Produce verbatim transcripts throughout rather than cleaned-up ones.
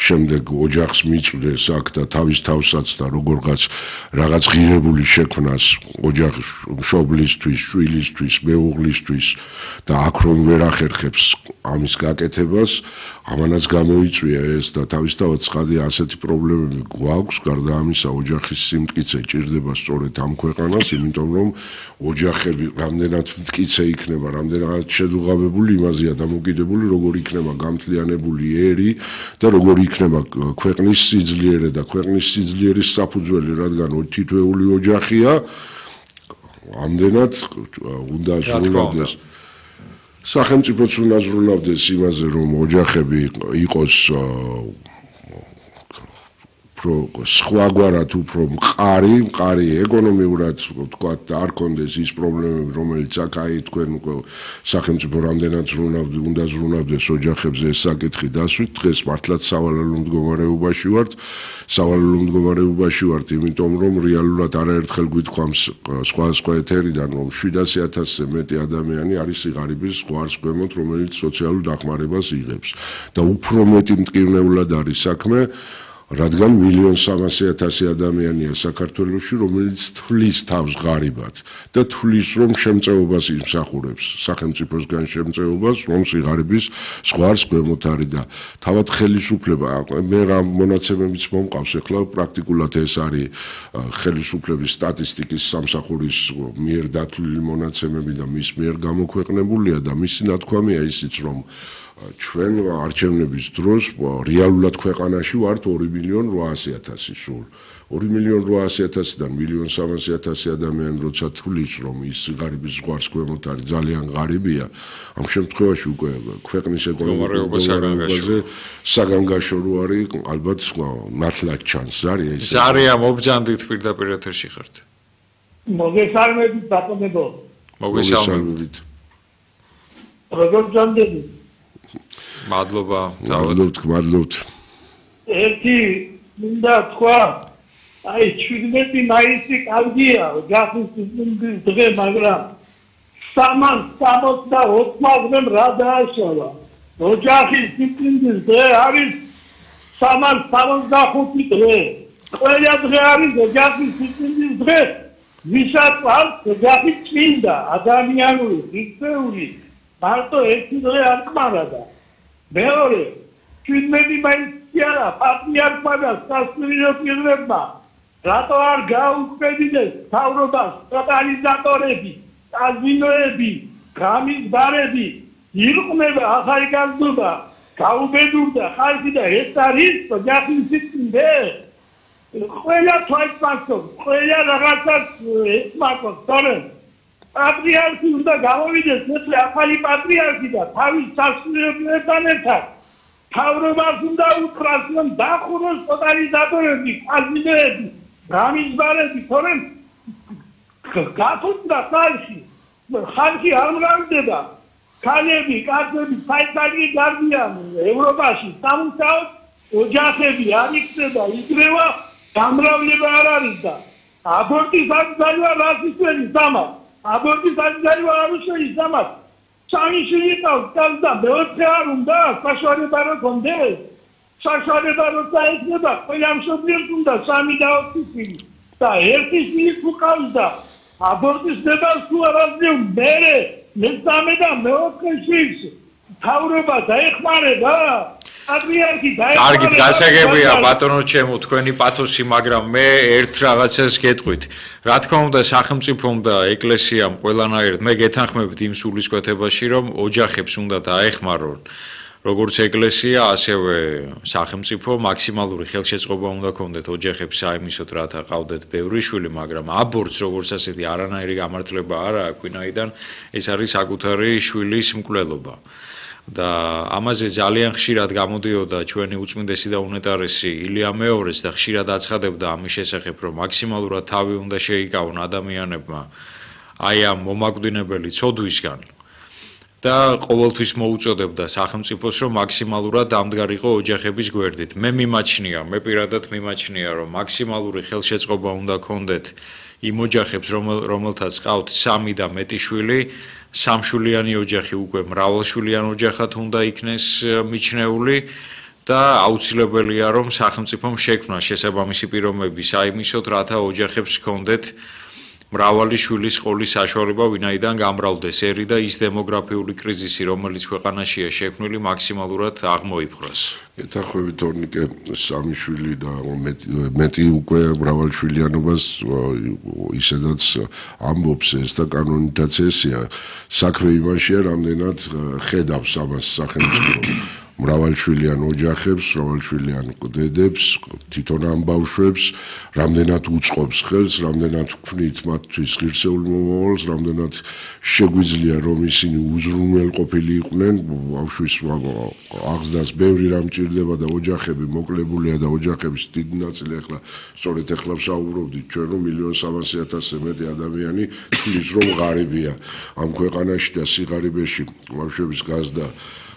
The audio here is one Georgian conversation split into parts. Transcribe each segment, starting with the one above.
შემდეგ ოჯახს მიწვდეს აქ და თავის თავსაც და როგორღაც რაღაც ღირებული შექმნას ოჯახის მშობლისთვის, შვილისთვის, მეუღლისთვის და აქ რომ ვერ ახერხებს ამის გაკეთებას, ამანაც გამოიწვია ეს და თავისთავად ცხადია ასეთი პრობლემები გვაქვს, გარდა ამისა ოჯახის სიმტკიცე ჭირდება სწორედ ამ ქვეყანას, იმიტომ რომ ოჯახები რამდენად მტკიცე იქნება, რამდენად შედუღაბებული, იმაზეა დამოკიდებული, როგორ იქნება გამთლიანებული ერი და როგორ იქნება ქვეყნის სიძლიერე და ქვეყნის სიძლიერის საფუძველი, რადგან თითოეული ოჯახია, ამდენად უნდა ზრუნავდეს. სახელმწიფოც უნდა ზრუნავდეს იმაზე, რომ ოჯახები იყოს სხვაგვარად უფრო მყარი, მყარი ეკონომიურად, თქვათ, და არ კონდეს ის პრობლემები, რომელიც აქ აი თქვენ სახელმწიფო რამდენად ზრუნავდა, უნდა ზრუნავდეს ოჯახებზე ეს საკითხი დასვით, დღეს მართლაც სავალალო მდგომარეობაში ვართ, სავალალო მდგომარეობაში ვართ, იმიტომ რომ რეალურად არაერთხელ გვითქვამს სხვა სხვა ეთერიდან, რომ შვიდასი ათასზე მეტი ადამიანი არის სიღარიბის ზღვარს ქვემოთ, რომელიც სოციალურ დახმარებას იღებს და უფრო მეტი მტკივნეულად არის საქმე, რადგან მილიონ სამასი ათასი ადამიანია საქართველოში, რომელიც თვლის თავს ღარიბად და თვლის რომ შემწეობას იმსახურებს, სახელმწიფოსგან შემწეობას, რომ სიღარიბის ზღვარს ქვემოთ არის და თავად ხელისუფლება, მე რა მონაცემებიც მომყავს, ახლა პრაქტიკულად ეს არის ხელისუფლების სტატისტიკის სამსახურის მიერ დათვლილი მონაცემები და მის მიერ გამოქვეყნებულია და მისი ნათქვამია ისიც, რომ ჩვენ არჩევნების დროს რეალურად ქვეყანაში ვართ ორი მილიონი რვაასი ათასი სულ. ორი მილიონი რვაასი ათასიდან მილიონ სამასი ათასი ადამიანი როცა თვლის, რომ ის სიღარიბის ზღვარს ქვემოთ არის ძალიან ღარიბია, ამ შემთხვევაში უკვე ქვეყნის ეკონომიკაზე საგანგაშო რო არის, ალბათ ნათლად ჩანს. ზარია ის. ზარია მობრძანდით პირდაპირ ეთერში ხართ. მოგესალმებით ბატონებო. მოგესალმებით. როგორ ჯანდები? მადლობა. მადლობთ, მადლობთ. ერთი მინდა თქვა, აი შვიდმეტი მაისი კარგია, ოჯახის დღე, მაგრამ სამას სამოცდაოთხმაგრემ რა დააშალა. ოჯახის დღე არის სამას სამოცდახუთი დღე. ყველა დღე არის ოჯახის დღე. ვისაც აქვს ოჯახი წმინდა, ადამიანური, ღირსეული, მარტო ერთი დღე არ კმარადა. მეორე, შვიდმეტი მაისი არა, პატრიარქმა და სასულიერო პირებმა, რატო არ გაუქმებიდეს მთავრობას ტოტალიზატორები, კაზინოები, გამიზბარები, ირყნება ახალგაზრდობა, გაუბედურდა ხალხი და ეს არის ოჯახის წმინდა. ყველა თვალს მართობს, ყველა რაღაცას ეხმაროს, თორემ პატრიარქი უნდა გამოვიდეს, მეთლე ახალი პატრიარქი და თავის სასულიეროებთან ერთად მთავრობას უნდა უთხრას, რომ დახუროს ტოტალიზატორები, კაზინოები, გამიზბარები, თორემ გაფუძნა ხალხი, ხალხი არ მრავლდება, ქალები, კაცები, საიტალი გარდიან ევროპაში, სამუშაოდ ოჯახები არ იქნება, იგრევა გამრავლება არ არის და აბორტის აკრძალვა რას ისვენის ამას. აბორტის აკრძალვა არ უშენის ამას. სამი შვილი ყავს და მეოთხე არ უნდა საშუალება რო კონდეს. საშუალება როცა ექნება, ყველა მშობლიებს უნდა სამი და ოთხი შვილი. და ერთი შვილი თუ ყავს და აბორტის ნება თუ არ აძლევ, მერე მესამე და მეოთხე შვილს მთავრობა დაეხმარება. კარგი, გასაგებია ბატონო ჩემო, თქვენი პათოსი, მაგრამ მე ერთ რაღაცას გეტყვით. რა თქმა უნდა, სახელმწიფომ და ეკლესიამ ყველანაირად მე გეთანხმებით იმ სულისკვეთებაში, რომ ოჯახებს უნდა დაეხმარონ, როგორც ეკლესია, ასევე სახელმწიფო, მაქსიმალური ხელშეწყობა უნდა ქონდეთ ოჯახებს საიმისოდ, რათა ყავდეთ ბევრი შვილი, მაგრამ აბორტს როგორც ასეთი არანაირი გამართლება არ აქვს, ვინაიდან ეს არის საკუთარი შვილის მკვლელობა. და ამაზე ძალიან ხშირად გამოდიოდა ჩვენი უწმინდესი და უნეტარესი ილია მეორეც და ხშირად აცხადებდა ამის შესახებ, რომ მაქსიმალურად თავი უნდა შეიკავონ ადამიანებმა აი ამ მომაკვდინებელი ცოდვისგან და ყოველთვის მოუწოდებდა სახელმწიფოს, რომ მაქსიმალურად დამდგარიყო ოჯახების გვერდით. მე მიმაჩნია, მე პირადად მიმაჩნია, რომ მაქსიმალური ხელშეწყობა უნდა ქონდეთ იმ ოჯახებს, რომელთაც ყავთ სამი და მეტი შვილი, სამშვილიანი ოჯახი უკვე მრავალშვილიან ოჯახად უნდა იქნეს მიჩნეული და აუცილებელია რომ სახელმწიფომ შექმნა შესაბამისი პირობები საიმისოდ, რათა ოჯახებს ჰქონდეთ მრავალი შვილის ყოლის საშუალება, ვინაიდან გამრავლდეს ერი და ის დემოგრაფიული კრიზისი, რომელიც ქვეყანაშია შექმნილი, მაქსიმალურად აღმოიფხვრას. ეთახვევით თორნიკე სამი შვილი და მეტი უკვე მრავალშვილიანობას ისედაც ამბობს ეს და კანონითაც ესია. საქმე იმაშია, რამდენად ხედავს ამას სახელმწიფო. მრავალშვილიან ოჯახებს, მრავალშვილიან დედებს, თვითონ ამ ბავშვებს, რამდენად უწყობს ხელს, რამდენად ვქმნით მათთვის ღირსეულ მომავალს, რამდენად შეგვიძლია რომ ისინი უზრუნველყოფილი იყვნენ, ბავშვის აღზრდას ბევრი რამ ჭირდება და ოჯახები მოკლებულია და ოჯახების დიდი ნაწილი ახლა სწორედ ახლა ვსაუბრობდით ჩვენ რომ მილიონ სამასი ათასზე მეტი ადამიანი თulis რომ ღარიბია ამ ქვეყანაში და სიღარიბეში ბავშვების გაზრდა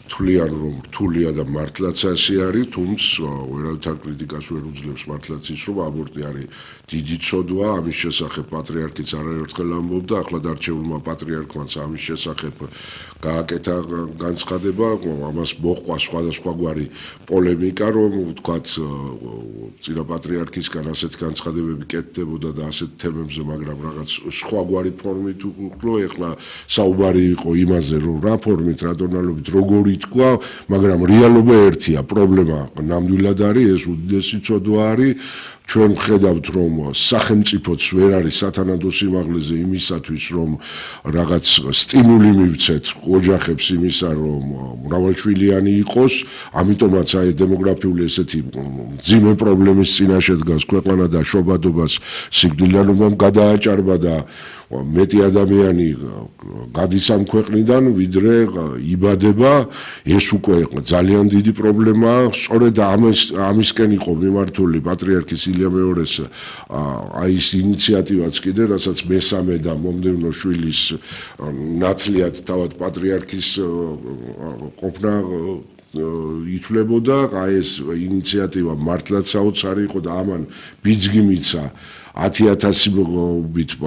თვლიან რომ რთულია და მართლაც ასე არის, თუმცა ვერავითარ კრიტიკას ვერ უძლებს მართლაც ის რომ აბორტი არის დიდი ცოდვა, ამის შესახებ პატრიარქიც არაერთხელ ამბობდა, ახლა დარჩეულმა პატრიარქმაც ამის შესახებ გააკეთა განცხადება, ამას მოჰყვა სხვადასხვაგვარი პოლემიკა, რომ ვთქვათ წინა პატრიარქისგან ასეთ განცხადებები კეთდებოდა და ასეთ თემებზე, მაგრამ რაღაც სხვაგვარი ფორმით უყო, ეხლა საუბარი იყო იმაზე, რომ რა ფორმით, რა ტონალობით, როგორი თქვა, მაგრამ რეალობა ერთია, პრობლემა ნამდვილად არის, ეს უდიდესი ცოდვა არის. ჩვენ ვხედავთ რომ სახელმწიფოც ვერ არის სათანადო სიმაღლეზე იმისათვის რომ რაღაც სტიმული მივცეთ ოჯახებს იმისა რომ მრავალშვილიანი იყოს, ამიტომაც აი დემოგრაფიული ესეთი მძიმე პრობლემის წინაშე დგას ქვეყანა და შობადობას სიკვდილიანობამ გადააჭარბა და მეტი ადამიანი გადის ამ ქვეყნიდან, ვიდრე იბადება, ეს უკვე ძალიან დიდი პრობლემაა. სწორედ ამის ამისკენ იყო მიმართული პატრიარქის ილია მეორეს აი ეს ინიციატივაც კიდე, რასაც მესამე და მომდევნო შვილის ნათლიად თავად პატრიარქის ყოფნა ითვლებოდა, აი ეს ინიციატივა მართლაც საოცარი იყო და ამან ბიძგი მიცა ათი ათასობით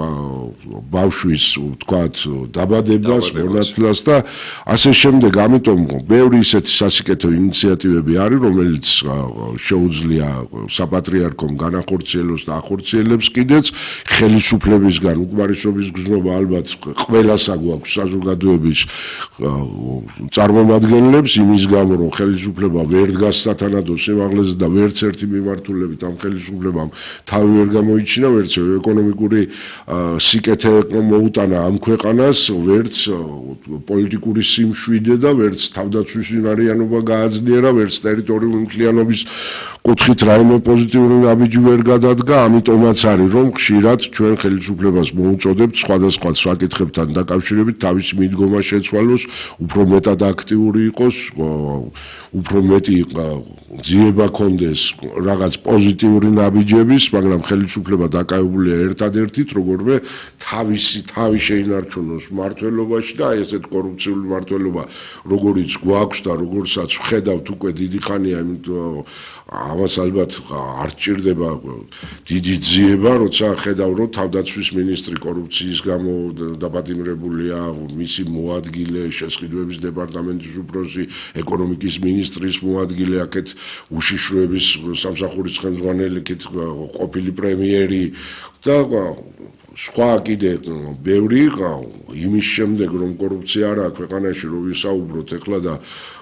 ბავშვის ვთქვათ დაბადებას, მონათლას და ასე შემდეგ. ამიტომ ბევრი ისეთი სასიკეთო ინიციატივები არის, რომელიც შეუძლია საპატრიარქომ განახორციელოს და ახორციელებს კიდეც ხელისუფლებისგან უკმარისობის გზნობა ალბათ ყველას აგვაქვს საზოგადოების წარმომადგენლებს იმის გამო რომ ხელისუფლება ვერ დგას სათანადო სიმაღლეზე და ვერც ერთი მიმართულებით ამ ხელისუფლებამ თავი ვერ გამოიჩინა ვერც ეკონომიკური სიკეთე მოუტანა ამ ქვეყანას, ვერც პოლიტიკური სიმშვიდე და ვერც თავდაცვის უნარიანობა გააძლიერა, ვერც ტერიტორიული მთლიანობის კუთხით რაიმე პოზიტიური ნაბიჯი ვერ გადადგა, ამიტომაც არის რომ ხშირად ჩვენ ხელისუფლებას მოუწოდებთ სხვადასხვა საკითხებთან დაკავშირებით თავისი მიდგომა შეცვალოს, უფრო მეტად აქტიური იყოს, უფრო მეტი ძიება კონდეს რაღაც პოზიტიური ნაბიჯების, მაგრამ ხელისუფლება დაკავებულია ერთადერთით, როგორმე თავისი თავი შეინარჩუნოს მმართველობაში და აი ესეთ კორუფციული მმართველობა, როგორიც გვაქვს და როგორცაც ვხედავთ უკვე დიდი ხანია, იმიტომ ამას ალბათ არ ჭირდება დიდი ძიება, როცა ხედავ რომ თავდაცვის მინისტრი კორუფციის გამო დაპატიმრებულია, მისი მოადგილე, შესყიდვების დეპარტამენტის უფროსი, ეკონომიკის მინისტრის მოადგილე, აქეთ უშიშროების სამსახურის ხელმძღვანელი, ყოფილი პრემიერი და სხვა კიდე ბევრი იმის შემდეგ რომ კორუფცია არა ქვეყანაში რომ ვისაუბროთ ეხლა და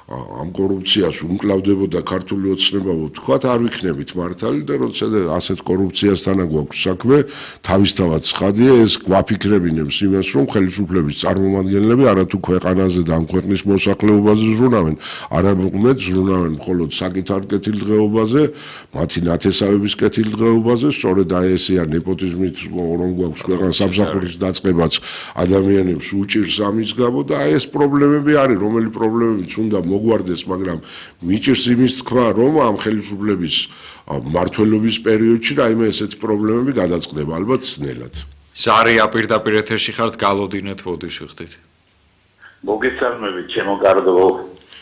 ამ კორუფციას უმკლავდებოდა ქართული ოცნება, ვთქვათ, არ ვიქნებით მართალი და როცა ასეთ კორუფციასთან გვაქვს საქმე, თავისთავად ცხადია ეს გვაფიქრებინებს იმას, რომ ხელისუფლების წარმომადგენლები არათუ ქვეყანაზე და ამ ქვეყნის მოსახლეობაზე ზრუნავენ, არამედ ზრუნავენ მხოლოდ საკითხარ კეთილდღეობაზე, მათი ნათესავების კეთილდღეობაზე, სწორედ აი ესეა ნეპოტიზმით რომ გვაქვს ქვეყანას სამსახურის დაწყებაც ადამიანებს უჭირს ამის გამო და აი ეს პრობლემები არის, რომელი პრობლემებიც უნდა მოგვარდეს, მაგრამ მიჭირს იმის თქვა, რომ ამ ხელისუფლების მმართველობის პერიოდში რაიმე ესეთი პრობლემები გადაწყდება, ალბათ ძნელად. ზარია პირდაპირ ეთერში ხართ, გალოდინეთ, ბოდიში ხდით. მოგესალმებით, ჩემო კარგო,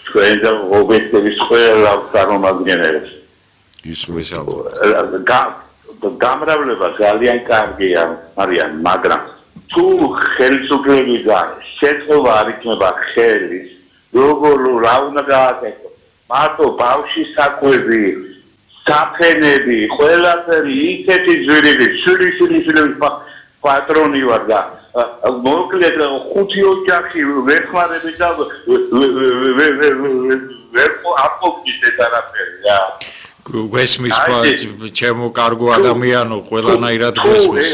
თქვენ და ობიექტების ყველა წარმომადგენლებს. ისმის გამრავლება ძალიან კარგია, არიან, მაგრამ თუ ხელისუფლებიდან შეწყობა არ იქნება ხელის, როგორ რა უნდა გააკეთო? მარტო ბავშვის საკვები, საფენები, ყველაფერი ისეთი ძვირილი, შვილი შვილი შვილი პატრონი ვარ და მოკლედ ხუთი ოჯახი ვერ ხმარები და ვერ აპოქის ეს არაფერი რა. გვესმის ჩემო კარგო ადამიანო, ყველანაირად გვესმის.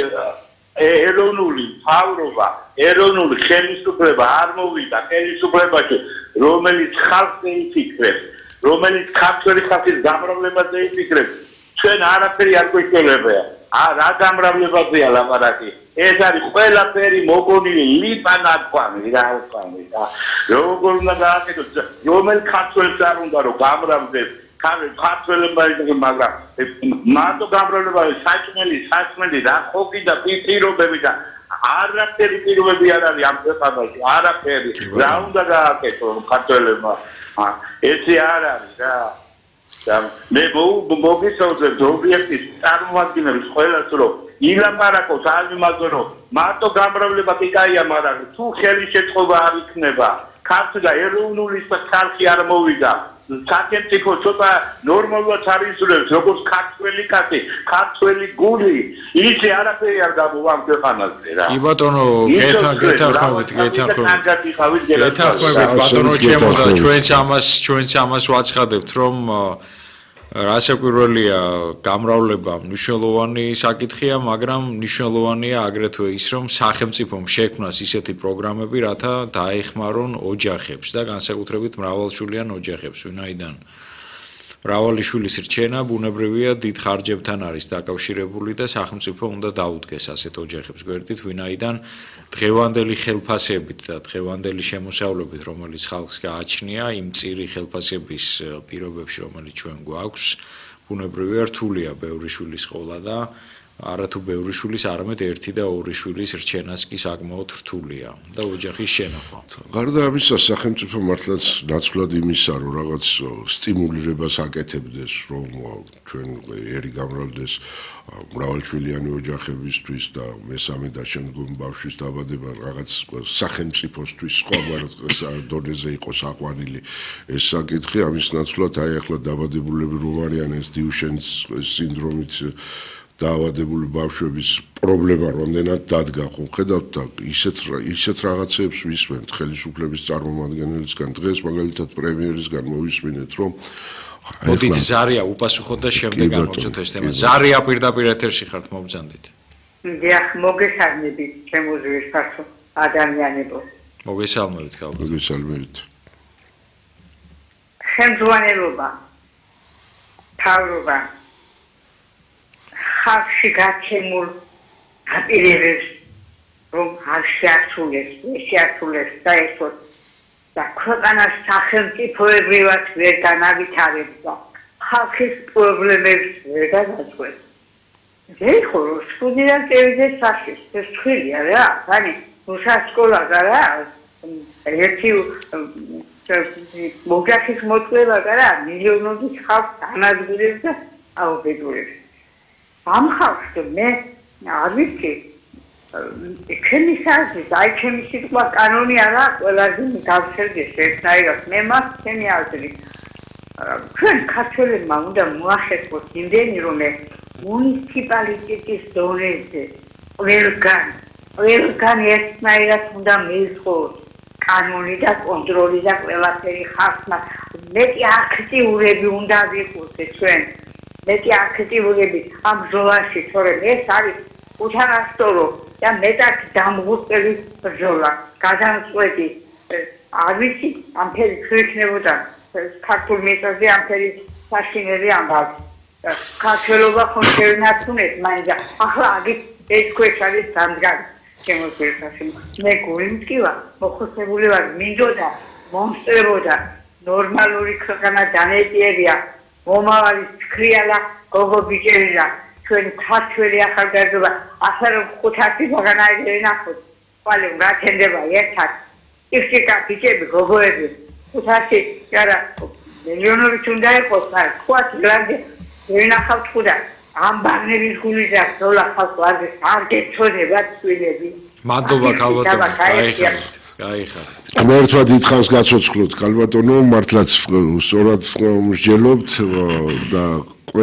ეროვნული მთავრობა, ეროვნული ხელისუფლება არ მოვიდა ხელისუფლებაში, რომელიც ხალხს ეიფიქრებს, რომელიც ქართველი ხალხის გამრავლებაზე ეიფიქრებს, ჩვენ არაფერი არ გვეშველებია. რა გამრავლებაზეა ლაპარაკი? ეს არის ყველაფერი მოგონილი ლიპანაკვანი რა ვთქვი და როგორ უნდა გააკეთოს, რომელ ქართველს არ უნდა რომ გამრავდეს ქართველებმა, მაგრამ მარტო გამრავლება საჭმელი, საჭმელი რა ხოკი და პირობები და არაფერი პირობები არ არის ამ ქვეყანაში, არაფერი. რა უნდა გააკეთოს ქართველებმა? ესე არ არის რა. და მე მოგისაუბრებ ობიექტის წარმოადგენლებს ყველას რომ ილაპარაკოს არ იმაზე რომ მარტო გამრავლება კი კაია, მაგრამ თუ ხელი შეწყობა არ იქნება, ქართული და ეროვნული ხალხი არ მოვიდა. სახელმწიფო ცოტა ნორმალურად არიზულებს, როგორც ქართველი კაცი, ქართველი გული, ისე არაფერი არ გამოვა ამ ქვეყანაზე რა. კი ბატონო, გეთანხმებით, გეთანხმებით. გეთანხმებით ბატონო ჩემო და ჩვენც ამას, ჩვენც ამას ვაცხადებთ, რომ რასაკვირველია გამრავლება მნიშვნელოვანი საკითხია, მაგრამ მნიშვნელოვანია აგრეთვე ის, რომ სახელმწიფომ შექმნას ისეთი პროგრამები, რათა დაეხმარონ ოჯახებს და განსაკუთრებით მრავალშვილიან ოჯახებს, ვინაიდან მრავალი შვილის რჩენა ბუნებრივია დიდ ხარჯებთან არის დაკავშირებული და სახელმწიფო უნდა დაუდგეს ასეთ ოჯახებს გვერდით, ვინაიდან დღევანდელი ხელფასებით და დღევანდელი შემოსავლებით, რომელიც ხალხს გააჩნია, იმ წირი ხელფასების პირობებში, რომელიც ჩვენ გვაქვს, ბუნებრივია რთულია ბევრი შვილის ყოლა და არათუ ბევრი შვილის, არამედ ერთი და ორი შვილის რჩენას კი საკმაოდ რთულია და ოჯახის შენახვა. გარდა ამისა, სახელმწიფო მართლაც ნაცვლად იმისა, რომ რაღაც სტიმულირებას აკეთებდეს, რომ ჩვენ ერი გამრავლდეს მრავალშვილიანი ოჯახებისთვის და მესამე და შემდგომ ბავშვის დაბადება რაღაც სახელმწიფოსთვის სხვა დონეზე იყოს აყვანილი ეს საკითხი, ამის ნაცვლად აი ახლა დაბადებულები რომ არიან ეს დიუშენის სინდრომით დაავადებული ბავშვების პრობლემა რამდენად დადგა, ხო ხედავთ და ისეთ ისეთ რაღაცებს ვისმენთ ხელისუფლების წარმომადგენელისგან, დღეს მაგალითად პრემიერისგან მოვისმინეთ, რომ მოდით ზარია უპასუხოთ და შემდეგ ამოვწოთ ეს თემა. ზარია პირდაპირ ეთერში ხართ, მოგზანდით. დიახ, მოგესალმებით, ჩემო ზუსტად ადამიანებო. მოგესალმებით, ხალხო. მოგესალმებით. ხელმძღვანელობა, მთავრობა ხალხში გაცემულ აპირებებს რომ არ შეასრულეს, შეასრულეს საერთოდ და ქვეყანას სახელმწიფოებრივად ვერ განავითარებს და ხალხის პრობლემებს ვერ განაწყვეტს. ეხო რომ სკოლიდან წევიდეს სახის, ეს ხილია რა, ანუ უსასკოლა რა, ერთი მოჯახის მოწვევა რა, მილიონობით ხალხს ანადგურებს და აუბედურებს. ამ ხალხს მე არ ვიცი, ჩემი საზრით, აი ჩემი სიტყვა კანონი არა, ყველაზე გავსერდეს ერთნაირად, მე მას ჩემი აზრით. ჩვენ ქართველებმა უნდა მოახერხოს იმდენი, რომ მუნიციპალიტეტის დონეზე ყველგან, ყველგან ერთნაირად უნდა მიიღოს კანონი და კონტროლი და ყველაფერი ხალხმა მეტი აქტიურები უნდა ვიყოს ჩვენ. მეტი აქტიურები ამ ბრძოლაში, თორემ ეს არის უთანასწორო და მეტად დამღუპელი ბრძოლა. გადამწყვეტი არ ვიცი, ამ ფერი თუ იქნებოდა ქართულ მიწაზე ამ ფერი საშინელი ამბავი. ქართველობა ხომ შევნაცუნეთ მაინც ახლა აგით ეს ქვეშ არის დამდგარი შემოგვიერთაში. მე გულიმტკივა, მოხოცებული ვარ, მინდოდა მომსწრებოდა ნორმალური ქვეყანა დანეტიერია. მომავალი ცხრიალა გოგო ბიჭერია, ჩვენ ქართველი ახალგაზრდა, ახლა რომ ხუთასი ბაღანაირი ენახოთ, ყალე გათენდება ერთად. ისიკა ბიჭები, გოგოები, ხუთასი, არა, მილიონობით უნდა იყოს, სხვა გლანდი ენახავთ ხუდა. ამ ბაღნების გული და ზოლა ხალხო არ არ გეწოდება ცვილები. მადლობა ქალბატონო, გაიხარეთ. გაიხარეთ. ღმერთმა დიდხანს გაცოცხლოთ, ქალბატონო, მართლაც სწორად მსჯელობთ და